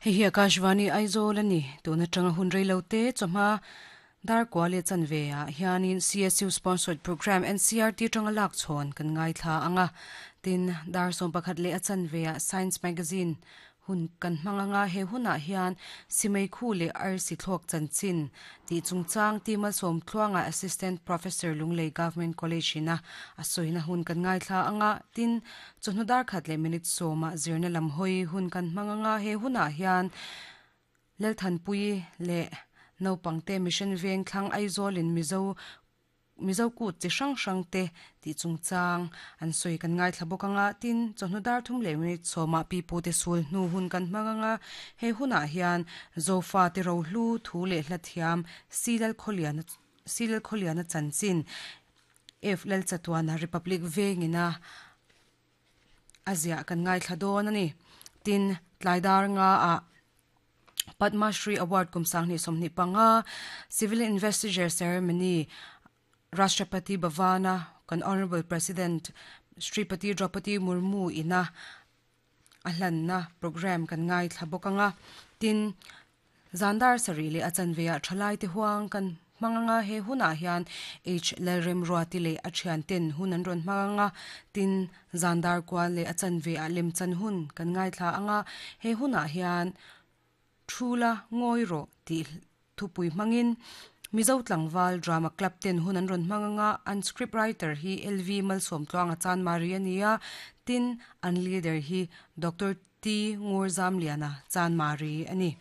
Hei hi Akashvani Aizawl a ni. Tun atanga hun rei lo te chawhma dar kua leh chanve ah hianin CSU sponsored programme NCRT atanga lak chhawn kan ngaithla ang a. Tin, dar 11 leh a chanve ah Science Magazine Hun kan hmang anga he hunah hian Simei Khu leh Arsi Thlawk Chanchin tih chungchang ti malsawm tluanga Assistant Professor Lunglei Government College ina a sawina hun kan ngaithla anga tin chawhnu dar khat leh minute sawmah zirna lam hawi hun kan hmang anga he hunah hian Lalthanpuii leh naupangte Mission Vengthlang Aizawlin Mizo Mizo kut chi hrang hrang te tih chungchang an sawi kan ngaithla bawk ang a, tin, chawhnu dar thum leh minute sawmah pi pu te sul hnu hun kan hmang ang a, he hunah hian Zofa te rohlu thu leh hla thiam Silal Khawliana Silal Khawliana chanchin F Lalchatuana Republic vengina a ziah kan ngaithla dawn a ni. Tin, tlai dar nga ah Padma Shri Award kum 2025 Civil Investiture Ceremony Rashtrapati Bhavan-a kan Honourable President Shripati Draupadi Murmu ina a hlanna programme kan ngaithla bawk ang a. Tin, zan dar sarih leh a chanveah thalaite huang kan hmang ang a, he hunah hian H Lalremruati leh a thianten hun an rawn hmang ang a. Tin, zan dar kual leh a chanveah lemchan hun kan ngaithla ang a, he hunah hian Thula ngawi rawh tih thupui hmangin Mizo tlangval Drama Club ten hun an rawn hmang ang a, an script writer hi LV Malsawmtluanga Chanmari a ni a, tin an leader hi Doctor T Ngurzamliana Chanmari a ni.